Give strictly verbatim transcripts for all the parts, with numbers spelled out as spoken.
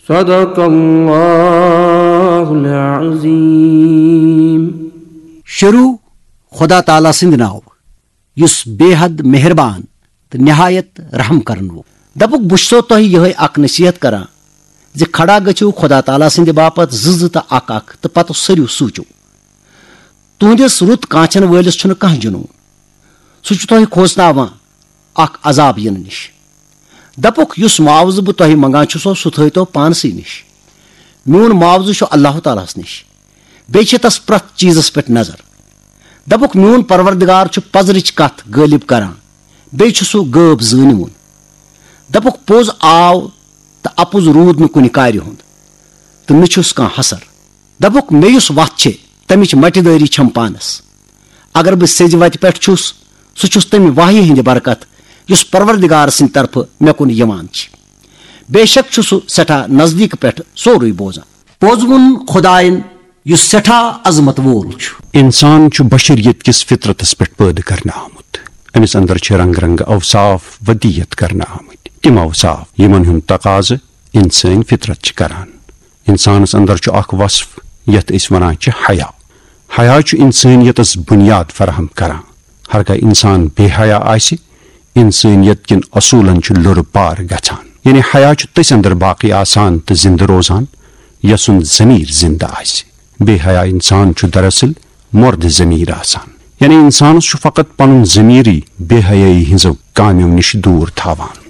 صدق اللہ العظیم۔ شروع خدا تعالیٰ سٕنٛدِ ناوٕ، یُس بے حد مہربان تہٕ نہایت رحم کرن وول۔ دپُکھ، بہٕ چھُسو تۄہہِ یِہے اکھ نصیحت کران زِ کھڑا گٔژھِو خدا تعالیٰ سٕنٛدِ باپتھ زٕ زٕ تہٕ اکھ اکھ، تہٕ پتہٕ سٔرِو سوٗچِو۔ تُہنٛدِس رُت کانچھن وٲلِس چھُنہٕ کانٛہہ جنون۔ سُہ چھُ تۄہہِ کھوژناوان اکھ عذاب یِنہٕ نِش۔ دپُکھ، یُس معاوضہٕ بہٕ تۄہہِ منگان چھُسو، سُہ تھٲوتو پانسٕے نِش۔ میون معاوضہٕ چھُ اللہ تعالیٰ ہس نِش۔ بیٚیہِ چھِ تس پرٛٮ۪تھ چیٖزس پٮ۪ٹھ نظر۔ دپُکھ، میون پروردگار چھُ پزرٕچ کتھ غٲلب کران، بیٚیہِ چھُ سُہ غٲب زٲنِوُن۔ دپُکھ، پوٚز آو تہٕ اپُز روٗد نہٕ کُنہِ کارِ ہُنٛد، تہٕ نہٕ چھُس کانٛہہ حسر۔ دپُکھ، مےٚ یُس وتھ چھے، تمِچ مٹہِ دٲری چھم پانس۔ اگر بہٕ سیٚزِ وتہِ پٮ۪ٹھ چھُس، سُہ چھُس تمہِ وحی ہٕنٛدِ برکت، یُس پروردگار سٕنٛدِ طرفہٕ مےٚ کُن یِوان چھِ۔ بے شک چھُ سُہ سٮ۪ٹھاہ نزدیٖک پٮ۪ٹھ سورُے بوزان۔ پوٚز ووٚن خدایَن، یُس سٮ۪ٹھاہ عظمت وول چھُ۔ انسان چھُ بشریت کِس فطرتس پٮ۪ٹھ پٲدٕ کرنہٕ آمُت۔ أمِس اندر چھِ رنگ رنگ اوصاف ودیت کرنہٕ آمٕتۍ۔ تِم اوصاف، یِمن ہُنٛد تقاضہٕ انسٲنۍ فطرت چھِ کران۔ انسانس اندر چھُ اکھ وصف، یتھ أسۍ ونان چھِ حیا۔ حیا چھُ انسٲنیتس بنیاد فراہم کران۔ ہرگاہ انسان بے حیا آسہِ، انسٲنیت کٮ۪ن اصوٗلن چھُ لُرٕ پار گژھان۔ یعنی حیا چھُ تٔسۍ اندر باقی آسان تہٕ زندٕ روزان، یسُنٛد ضمیر زندٕ آسہِ۔ بے حیا انسان چھُ دراصل مردِ ضمیر آسان۔ یعنی انسانس چھُ فقط پنُن ضمیرٕے بے حیٲیی ہٕنٛزو کامیو نِش دوٗر تھاوان۔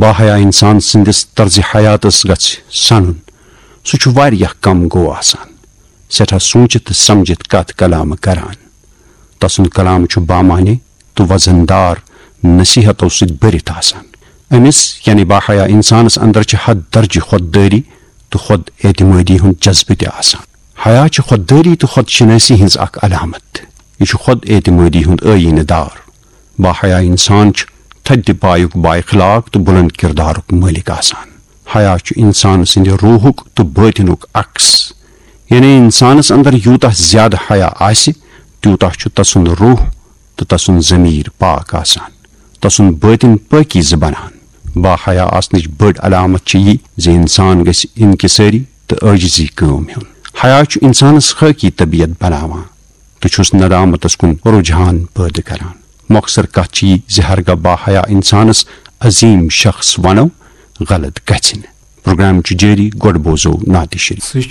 باحیا انسان سٕنٛدِس طرزِ حیاتس گژھِ سنُن۔ سُہ چھُ واریاہ کم گوٚو آسان۔ سٮ۪ٹھاہ سوٗنچِتھ تہٕ سمجھِتھ کتھ کلامہٕ کران۔ تسُنٛد کلام چھُ بامعنی تہٕ وزن دار نصیحتو سۭتۍ بٔرِتھ آسان۔ أمِس، یعنی باحیا انسانس اندر چھِ حد درجہِ خوددٲری تہٕ خود اعتمٲدی ہُنٛد جذبہٕ تہِ آسان۔ حیا چھِ خوددٲری تہٕ خود شناسی ہٕنٛز اکھ علامت۔ یہِ چھُ خود اعتمٲدی ہُنٛد ٲیٖنہٕ دار۔ باحیا انسان چھُ تھدِ پایُک بااخلاق تہٕ بلند کردارُک مٲلِک آسان۔ حیا چھُ انسان سٕنٛدِ روحُک تہٕ باطنُک عکس۔ یعنی انسانس اندر یوٗتاہ زیادٕ حیا آسہِ، تیوٗتاہ چھُ تسُنٛد روح تہٕ تسُنٛد ضمیر پاک آسان، تسُنٛد باطن پٲکیزٕ بنان۔ باحیا آسنٕچ بٔڑ علامت چھِ یہِ زِ انسان گژھِ انکسٲری تہٕ عٲجزی کٲم ہیوٚن۔ حیا چھُ انسانس خٲکی طبیعت بناوان تہٕ چھُس ندامتس کُن رجحان پٲدٕ کران۔ مۄخصر کتھ چھِ یہِ زِ ہرگاہ باحیا انسانس عظیم شخص ونو، غلط گژھِ نہٕ۔ پروگرام چھُ جٲری، گۄڈٕ بوزو نعتِ شریف۔ سُہ چھُ